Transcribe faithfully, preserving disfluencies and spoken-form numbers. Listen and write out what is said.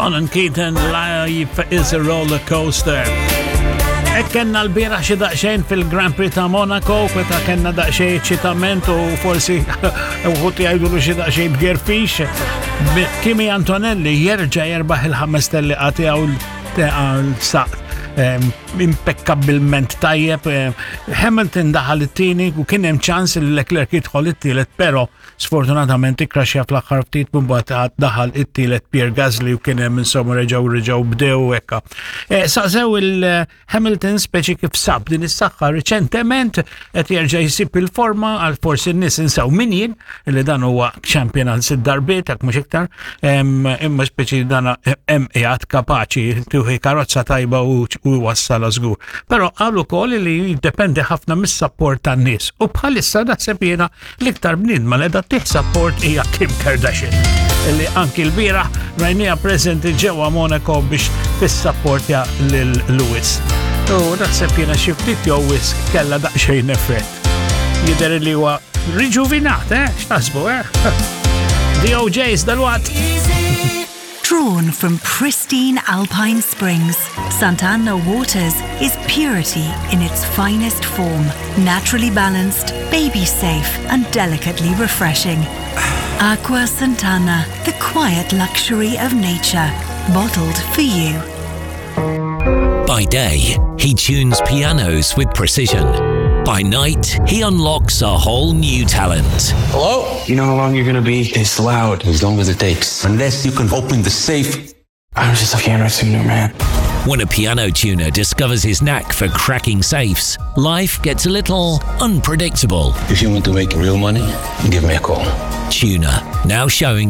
Ronan Keating, Life is a Roller Coaster. Hekk kellna l-bieraħ xi daqsxejn fil-Grand Prix ta' Monaco, kweta kellna daqsxejn eċitament u forsi uħud jgħidu xi daqsxejn bgerfix. Kimi Antonelli jerġa' jerbaħ il-ħames tellieqa tiegħu saq impeccabbilment tajjeb. Hamilton daħal it-tieni u kien hemm ċans li Leclerc jidħol it-tielet, però sfortunatament ikkraxja fl-aħħar ftit, mbagħad daħal it-tielet Pierre Gasly u kien hemm insomma reġgħu reġgħu bdew hekka. Saqsew il-Hamilton speċi kif sab din is-saħħa riċentement, qed jerġa' jsib il-forma, għal forsi n-nies insew min jien li dan huwa champion għal sitt darbiet, hekk mhux iktar, imma speċi dan hemm qiegħed kapaċi tuħi karozza tajba u wassala żgur. Però qalu wkoll li jiddependi ħafna mis-support tan-nies. U bħalissa naħseb jiena l-iktar bniedma li tih support hija Kim Kardashian, li anki l-bieraħ rajnieha preżenti ġewwa Monaco biex tissapportja lil Lewis. U naħseb jiena xi ftit jew wisq kellha daqsxejn effett. Jidher li huwa riġuvinat, eh? X'taħsbu, eh? The O'Jays dalwaqt. Drawn from pristine alpine springs, Sant'Anna Waters is purity in its finest form, naturally balanced, baby safe, and delicately refreshing. Acqua Sant'Anna, the quiet luxury of nature, bottled for you. By day, he tunes pianos with precision. By night, he unlocks a whole new talent. Hello? You know how long you're gonna be? It's loud. As long as it takes. Unless you can open the safe. I'm just a piano tuner, man. When a piano tuner discovers his knack for cracking safes, life gets a little unpredictable. If you want to make real money, give me a call. Tuner, now showing.